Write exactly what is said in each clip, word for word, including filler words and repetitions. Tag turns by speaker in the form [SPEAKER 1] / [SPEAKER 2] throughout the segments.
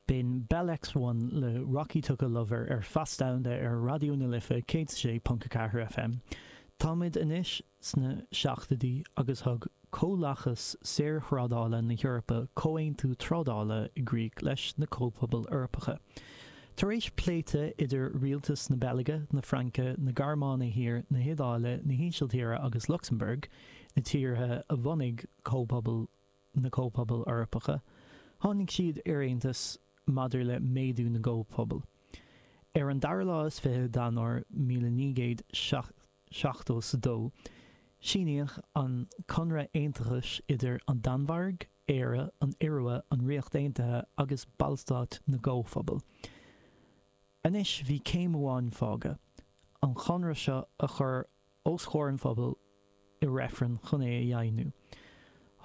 [SPEAKER 1] B'in Bell X One le Rocky Took a Lover ar Feasta ar Raidió na Life céad sé ponc a ceathair FM. Táimid anois sna seachtóidí agus thug Comhlachas Saorthrádála na hEorpa comhaontú trádála i gcrích leis na Comhphobail Eorpacha. Tar éis pléite idir rialtas na Beilge, na Fraince, na Gearmáine Thiar, na hIodáile, na hÍsiltíre agus Lucsamburg, na tíortha a bhunaigh comhphobail na Comhphobail Eorpacha, tháinig siad ar aontas maidir le méadú na gcomhphobal. Ar an dara lá is fiche d'Eanáir míle naoi gcéad seachtó is a dó, síníodh an Conradh Aontachais idir an Danmhairg, Éire, an Iorua, an Ríocht Aontaithe agus Ballstáit na gComhphobal. Anois bhí céim amháin fágtha, an conradh seo a chur os comhair an phobail i reifreann chun é a dheimhniú.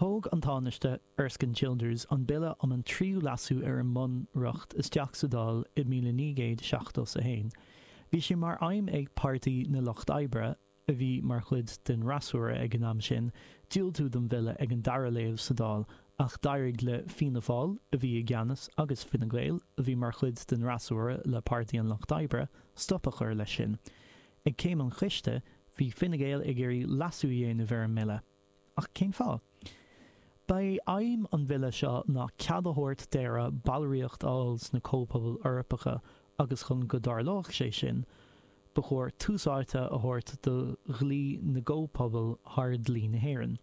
[SPEAKER 1] Thóg an Tánaiste Erskine Childers an Bille um an Tríú Leasú ar an mBunreacht isteach sa Dáil i míle naoi gcéad seachtó is a haon. Bhí sé mar aidhm ag Páirtí na Lucht Oibre, a bhí mar chuid den fhreasúra ag an am sin, diúltú don bhille ag an dara léamh sa Dáil ach d'éirigh le Fianna Fáil, a bhí i gceannas, agus Fine Gael, a bhí mar chuid den fhreasúra le Páirtí an Lucht Oibre, stop a chur leis sin. Ag céim an choiste, bhí Fine Gael ag iarraidh leasú a dhéanamh ar an mbille. Ach cén fáth? Ba é aidhm an bhille seo ná cead a thabhairt d'Éire ballraíocht a fháil sna Comhphobail Eorpacha agus chun go dtarlódh sé sin, ba chóir tús áite a thabhairt do dhlí na gComhphobal thar dhlí na hÉireann.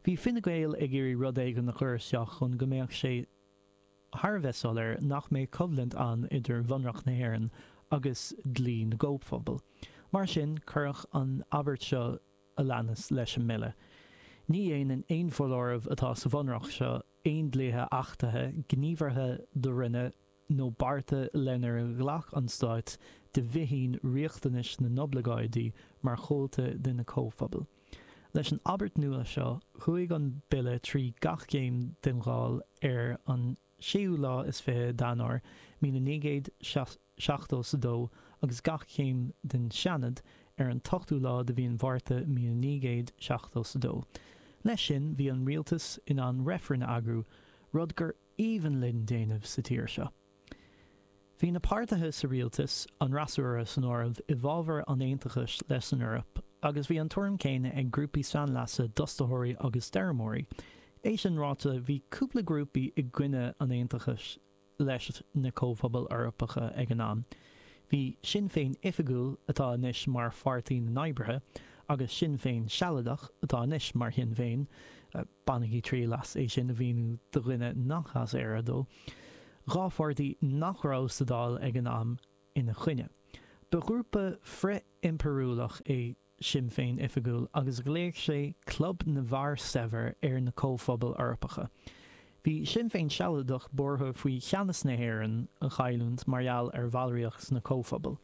[SPEAKER 1] Bhí Fine Gael ag iarraidh rud éigin a chur isteach chun go mbeadh sé thar a bheith soiléir nach mbeadh coimhlint ann idir Bhunreacht na hÉireann agus dlí na gComhphobal. Mar sin, cuireadh an abairt seo a leanas leis an mbille. Ní dhéanann aon foláireamh atá sa Bhunreacht seo aon dlíthe achtaithe, gníomhartha do rinneadh nó bearta lenar ghlac an Stát de bhíthin riachtanais na n-oibleagáidí mar chomhalta de na Comhphobail. Leis an abairt nua seo, chuaigh an bille trí gach céim den Dháil ar an séú lá is fiche d'Eanáir míle naoi gcéad seachtó is a dó agus gach céim den Seanad ar an t-ochtú lá de mhí an Mhárta míle naoi gcéad seachtó is a dó. Leis sin, bhí an rialtas in ann reifreann a eagrú, rud gur aoibhinn linn déanamh sa tír seo. Bhí na páirtithe sa rialtas, an fhreasúra san áireamh, i bhfabhar an aontachais leis an Eoraip agus bhí an tuairim céanna ag grúpaí sainleasa d'fhostaitheoirí agus d'fheirmeoirí. É sin ráite, bhí cúpla grúpaí i gcoinne an aontachais leis na Comhphobail Eorpacha ag an am. Bhí Sinn Féin Oifigiúil, atá anois mar Pháirtí na nOibrithe, agus Sinn Féin Sealadach, atá anois mar Shinn Féin, bainigí triail as é sin a mhíniú do dhuine nach as Éire dó, dhá pháirtí nach raibh sa Dáil ag an am, ina choinne. Ba ghrúpa frith-impiriúlach é Sinn Féin Oifigiúil agus ghlaoigh sé 'Club na bhFear Saibhir' ar na Comhphobail Eorpacha. Bhí Sinn Féin Sealadach buartha faoi cheannas na hÉireann a chailliúint mar gheall ar bhallraíocht sna Comhphobail.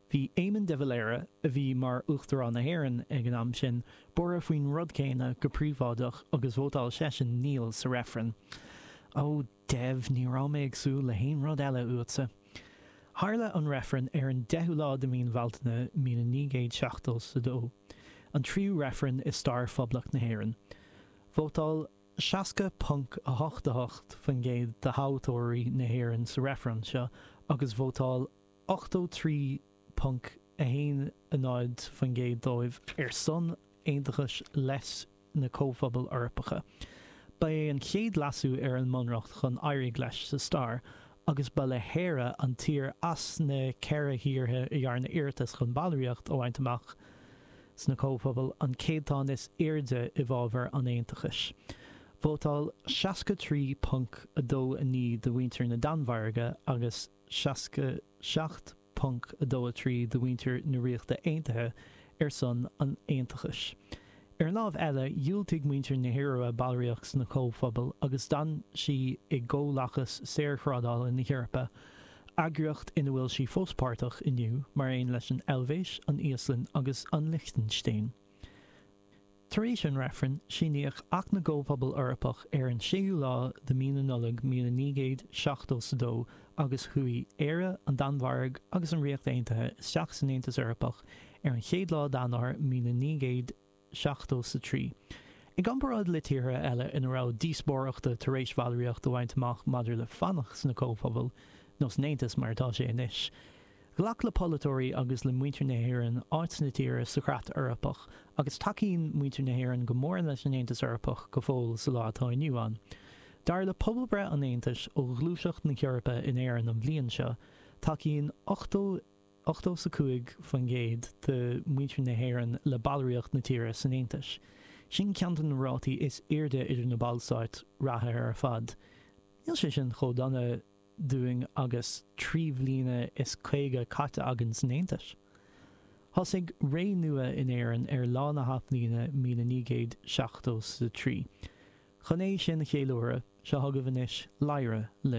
[SPEAKER 1] Bhí Éamon de Valera, a bhí mar Uachtarán na hÉireann ag an am sin, buartha faoin rud céanna go príobháideach agus vótáil seisean 'Níl' sa reifreann. Ó, Dev, ní raibh mé ag súil le haon rud eile uatsa. Tharla an reifreann ar an deichiú lá de mhí na Bealtaine míle naoi gcéad seachtó is a dó, an tríú reifreann i stair Phoblacht na hÉireann. Vótáil seasca ponc a hocht a hocht faoin gcéad de thoghthóirí na hÉireann sa reifreann seo agus vótáil ochtó trí ponc a haon a náid faoin gcéad dóibh ar son aontachais leis na Comhphobail Eorpacha. Ba é an chéad leasú ar an mBunreacht chun éirigh leis sa stair, agus ba le hÉire an tír as na ceithre thíortha a dhearna iarratas chun ballraíocht a bhaint amach sna Comhphobail an céatadán is airde i bhfabhar an aontachais. Vótáil seasca trí ponc a dó a naoi de mhuintir na Danmhairge agus seasca seacht ponc a dó a trí de mhuintir na Ríochta Aontaithe ar son an aontachais. Ar an lámh eile, dhiúltaigh muintir na hIorua ballraíocht sna Comhphobail agus d'fhan sí i gComhlachas Saorthrádála na hEorpa, eagraíocht ina bhfuil sí fós páirteach inniu, mar aon leis an Eilvéis, an Íoslainn agus an Lichtinstéin. Tar éis an reifrinn, síníodh Acht na gComhphobal Eorpach ar an séú lá de mhí na Nollag míle naoi gcéad seachtó is a dó agus chuaigh Éire, an Danmhairg agus an Ríocht Aontaithe isteach san Aontas Eorpach ar an chéad lá d'Eanáir míle naoi gcéad seachtó is a trí. I gcomparáid le tíortha eile ina raibh díospóireachta tar éis bhallraíocht a bhaint amach maidir le fanacht sna Comhphobail, nó san Aontas mar atá sé anois. Ghlac le polaiteoirí agus le muintir na hÉireann áit na tíre sa chreat Eorpach, agus tacaíonn muintir na hÉireann go mór leis an Aontas Eorpach go fóill sa lá atá inniu ann. Dar le pobalbhreith an Aontais ó Ghluaiseacht na hEorpa in Éirinn an bhliain seo, tacaíonn ochtó ochtó is a cúig faoin gcéad de mhuintir na hÉireann le ballraíocht na tíre san Aontas. Sin ceann de na rátaí is airde idir na ballstáit reatha ar fad. Níl sé sin chomh dona dúinn agus trí bhliana is caoga caite againn san Aontas. Thosaigh ré nua in Éirinn ar lá na hAthbhliana míle naoi gcéad seachtó is a trí. Chun é sin a cheiliúradh, seo chugaibh anois Lyra le